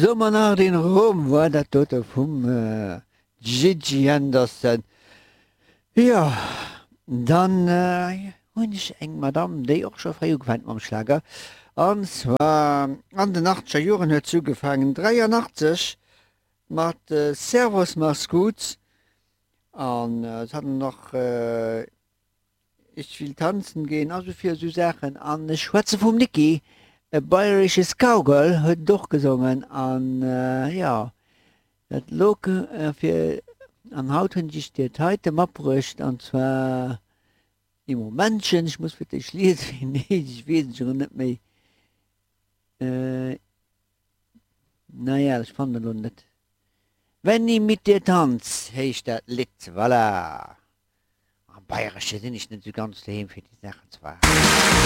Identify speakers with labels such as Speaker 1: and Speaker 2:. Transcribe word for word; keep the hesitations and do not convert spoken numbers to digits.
Speaker 1: Sommernacht in Rom war dat dote vum Gigi Anderson. Jo, dann hunn ech eng Madame, déi och scho fréi ugefaangen huet mam Schlager. An zwar an den achtzeger Joren huet se ugefaangen, dräianachtzeg mat Servus mach's gut an se hat nach Ich will tanzen gehen, also fir esou Saachen. An ech schwätze vum Niki, e bayerisches Cowgirl huet et och gesongen an jo, dat log fir. An haut hunn ech dir d'heite matbruecht an zwar ee Momentchen, ech muss fir d'éischt liesen, wéi en heescht, ech weess et scho net méi. Naja, ech fannen et elo net. Wenn i mit dir tanz heescht dat Lidd, voilà. Am Bayresche sinn ech net esou ganz doheem fir déi Saachen zwar.